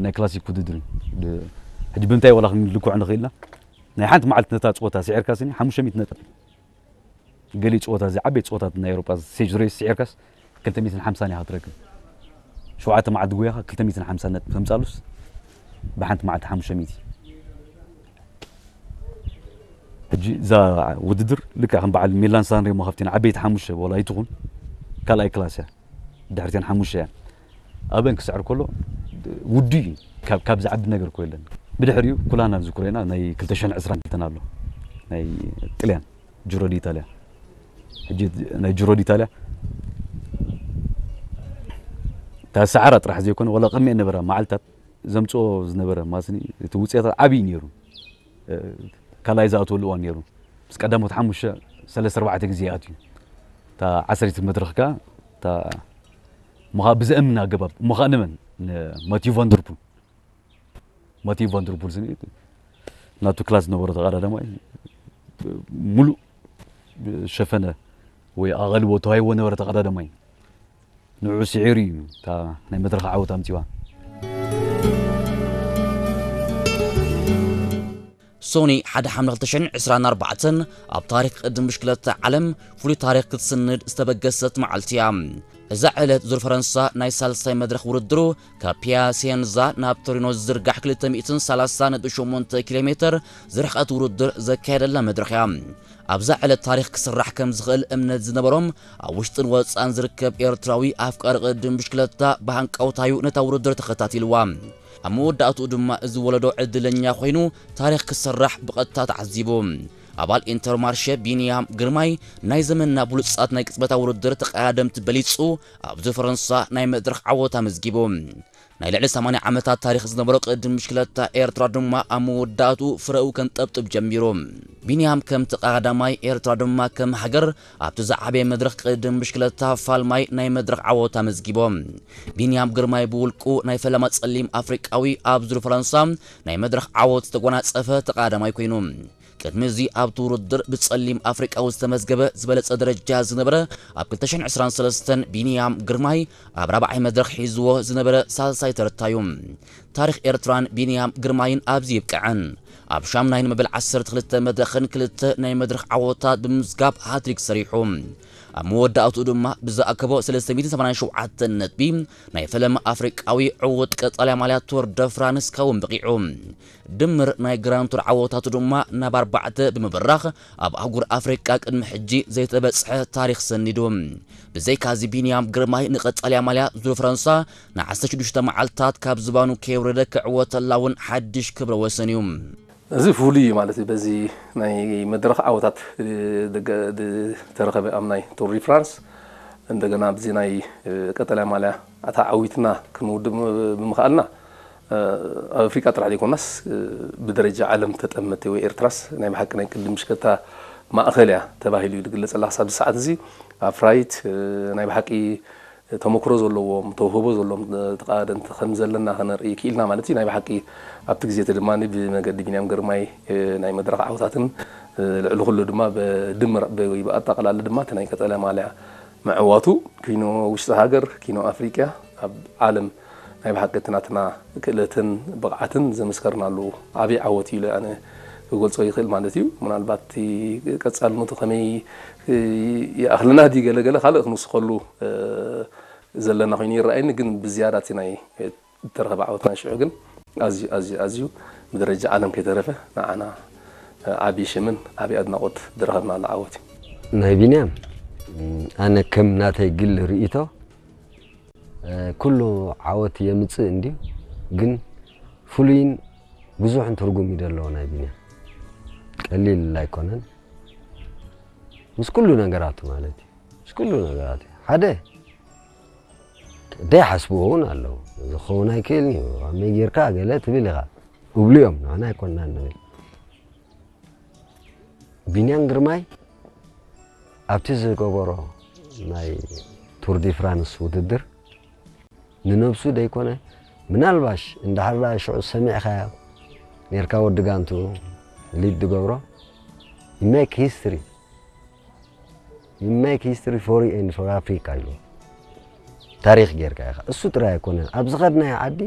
ናይ ክላሲክ ውድድር እዩ። ሕጂ ብምንታይ ዋላ ክንልክዖ ንኽእልና ናይ ሓንቲ መዓልቲ ነታ ፀወታ ስዒርካ ስኒ ሓሙሽተ ሚእቲ ነጥቢ፣ ገሊ ፀወታ እዚ ዓበይቲ ፀወታት ናይ ኤውሮጳ ስቴጅ ሬስ ስዒርካስ ክልተ ሚእትን ሓምሳን ኢኻ ትረክብ። ሸውዓተ መዓልቲ ጉያኻ ክልተ ሚእትን ሓምሳን ነጥቢ ከምፃሉስ ብሓንቲ መዓልቲ ሓሙሽተ ሚእቲ። ሕጂ እዛ ውድድር ልክዕ ከም በዓል ሚላን ሳንሬሞ ካብተን ዓበይቲ ሓሙሽተ ወላ ኣይትኹን ካልኣይ ክላስ እያ። ድሕርተን ሓሙሽተ እያ። ኣበን ክስዕር ከሎ ውዱ እዩ። ካብ ካብ ዝዓቢ ነገር እኮ የለን። ብድሕሪኡ ኩላና ዝኩረና ናይ ክልተ ሽሕን ዕስራን ክልተን ኣሎ ናይ ጥልያን ጅሮ ዲ ኢታልያ። ሕጂ ናይ ጅሮ ዲ ኢታልያ እታ ሰዓራ ጥራሕ ዘይኮነ ወላ ቅድሚኤን ነበራ መዓልታት ዘምፅኦ ዝነበረ ማስኒ እቲ ውፅኢታት ዓብዪ ነይሩ። ካልኣይ ዝኣተወሉ እዋን ነይሩ። ምስ ቀዳሞት ሓሙሽተ ሰለስተ ኣርባዕተ ግዜ ይኣትዩ። እታ ዓሰርይቲ መድረኽ ከኣ እታ እሞ ብዘእምን ኣገባብ እሞ ንመን ንማቲዩ ቫንደርፑል ማቲዩ ቫንደርፑል ስኒ ናቱ ክላስ ዝነበሮ ተቐዳዳማይ ሙሉእ ሸፈነ ወይ ኣቐልቦ ተዋሂቦ ነበረ ተቐዳዳማይ ንዑ ስዒሩ እዩ እታ ናይ መድረኽ ዓወት ኣምፂዋ። ሶኒ ሓደ ሓምለ ክልተ ሽሕን ዕስራን ኣርባዕተን ኣብ ታሪክ ቅድም ብሽክለታ ዓለም ፍሉይ ታሪክ ክትስንድ ዝተበገሰት መዓልቲ እያ። እዛ ዕለት ዙር ፈረንሳ ናይ ሳልሳይ መድረኽ ውድድሩ ካብ ፒያሴንዛ ናብ ቶሪኖ ዝዝርጋሕ ክልተ ሚእትን ሰላሳን ነጥቢ ሸሞንተ ኪሎ ሜትር ዝርሕቀት ውድድር ዘካየደላ መድረኽ እያ። ኣብዛ ዕለት ታሪኽ ክስራሕ ከም ዝኽእል እምነት ዝነበሮም ኣብ ውሽጥን ወፃእን ዝርከብ ኤርትራዊ ኣፍቃሪ ቅድም ብሽክለታ ብሃንቀውታዩ ነታ ውድድር ተኸታቲልዋ። ኣብ መወዳእትኡ ድማ እዚ ወለዶ ዕድለኛ ኮይኑ ታሪኽ ክስራሕ ብቐጥታ ተዓዚቡ። ኣባል ኢንተርማርሸ ቢንያም ግርማይ ናይ ዘመንና ብሉጻት ናይ ቅጽበታ ውድድር ተቐዳደምቲ በሊጹ ኣብዚ ፈረንሳ ናይ መድረኽ ዓወት ኣመዝጊቡ። ናይ ልዕሊ ሰማንያ ዓመታት ታሪኽ ዝነበሮ ቅድም ብሽክለታ ኤርትራ ድማ ኣብ መወዳእትኡ ፍረኡ ከንጠብጥብ ጀሚሩ። ቢንያም ከም ተቐዳዳማይ ኤርትራ ድማ ከም ሃገር ኣብቲ ዝዓበየ መድረኽ ቅድም ብሽክለታ ፋልማይ ናይ መድረኽ ዓወት ኣመዝጊቦም። ቢንያም ግርማይ ብውልቁ ናይ ፈለማ ጸሊም ኣፍሪቃዊ ኣብ ዙር ፈረንሳ ናይ መድረኽ ዓወት ዝተጎናጸፈ ተቐዳዳማይ ኮይኑ ቅድሚ እዚ ኣብቲ ውድድር ብጸሊም ኣፍሪቃዊ ዝተመዝገበ ዝበለጸ ደረጃ ዝነበረ ኣብ ክልተ ሽሕን ዕስራን ሰለስተን ቢንያም ግርማይ ኣብ ራብዓይ መድረኽ ሒዝዎ ዝነበረ ሳልሳይ ተርታ እዩ። ታሪኽ ኤርትራን ቢንያም ግርማይን ኣብዚ ይብቅዐን። ኣብ ሻምናይን መበል ዓሰርተ ክልተ መድረኽን ክልተ ናይ መድረኽ ዓወታት ብምምዝጋብ ሃትሪክ ሰሪሑ ኣብ መወዳእትኡ ድማ ብዝኣከቦ ሰለስተ ሚእትን ሰማንያን ሸውዓተን ነጥቢ ናይ ፈለማ ኣፍሪቃዊ ዕዉት ቀጠልያ ማልያ ቱር ደ ፍራንስ ክኸውን በቒዑ። ድምር ናይ ግራንድ ቱር ዓወታቱ ድማ ናብ ኣርባዕተ ብምብራኽ ኣብ ኣህጉር ኣፍሪቃ ቅድሚ ሕጂ ዘይተበጽሐ ታሪኽ ሰኒዱ። ብዘይካዚ ቢንያም ግርማይ ንቐጠልያ ማልያ ዙር ፈረንሳ ንዓሰርተ ሽዱሽተ መዓልታት ካብ ዝባኑ ከይወረደ ክዕወተላ እውን ሓድሽ ክብረ ወሰን እዩ። እዚ ፍሉይ እዩ ማለት እዩ። በዚ ናይ መድረኽ ዓወታት ዝተረኸበ ኣብ ናይ ቱር ዲ ፍራንስ እንደገና ኣብዚ ናይ ቀጠልያ ማልያ ኣታ ዓዊትና ክንውድእ ብምኽኣልና ኣብ ኣፍሪቃ ጥራሕ ዘይኮናስ ብደረጃ ዓለም ተጠመቲ ወይ ኤርትራስ ናይ ብሓቂ ናይ ቅድም ምሽከታ ማእኸል እያ ተባሂሉ እዩ ዝግለጸላ ክሳብ እዚ ሰዓት እዚ ኣፍራይት ናይ ብሓቂ ተመክሮ ዘለዎም ተውህቦ ዘለዎም ተቃደምቲ ከም ዘለና ከነርኢ ክኢልና ማለት እዩ ናይ ብሓቂ ኣብቲ ግዜ እቲ ድማ ብመገዲ ቢንያም ግርማይ ናይ መድረኽ ዓውታትን ልዕሊ ኩሉ ድማ ብድምር ወይ ብኣጠቃላሊ ድማ እቲ ናይ ቀጠልያ ማልያ ምዕዋቱ ኪኖ ውሽጢ ሃገር ኪኖ ኣፍሪቅያ ኣብ ዓለም ናይ ብሓቂ እቲ ናትና ክእለትን ብቕዓትን ዘመስከርናሉ ዓብዪ ዓወት እዩ ኢለ ኣነ ክገልጾ ይኽእል ማለት እዩ ምናልባት እቲ ቀጻልነቱ ከመይ ይኣኽልና ድዩ ገለ ገለ ካልእ ክንውስኸሉ ዘለና ኮይኑ ይረኣየኒ ግን ብዝያዳ እቲ ናይ ዝተረኸበ ዓወት ናይ ሽዑ ግን ኣዝዩ ኣዝዩ ኣዝዩ ብደረጃ ዓለም ከይተረፈ ንዓና ዓብዪ ሽምን ዓብዪ ኣድናቖት ዝረኸብናሉ ዓወት እዩ። ናይ ቢንያም ኣነ ከም ናተይ ግሊ ርእይቶ ኩሉ ዓወት የምፅእ እንድዩ ግን ፍሉይን ብዙሕን ትርጉም እዩ ዘለዎ ናይ ቢንያም ቀሊል ኣይኮነን ምስ ኩሉ ነገራቱ ማለት እዩ ምስ ኩሉ ነገራቱ ሓደ ደይሓስብዎ እውን ኣለዉ። እዚ ክኸውን ኣይክእልን እዩ፣ ከመይ ጌርካ ገለ ትብል ኢኻ። እብሉ እዮም፣ ንሕና ኣይኮንና ንብል። ቢንያም ግርማይ ኣብቲ ዝገበሮ ናይ ቱር ዲ ፍራንስ ውድድር ንነብሱ ደይኮነ ምናልባሽ እንድሕር ደኣ ሽዑ ሰሚዕካዮ ኔርካ ወዲ ጋንትኡ ሊድ ዝገብሮ you make history you make history for you and for Africa ኢሉ ታሪኽ ጌርካ ኢኻ። እሱ ጥራይ ኣይኮነን ኣብ ዝኸድናዮ ዓዲ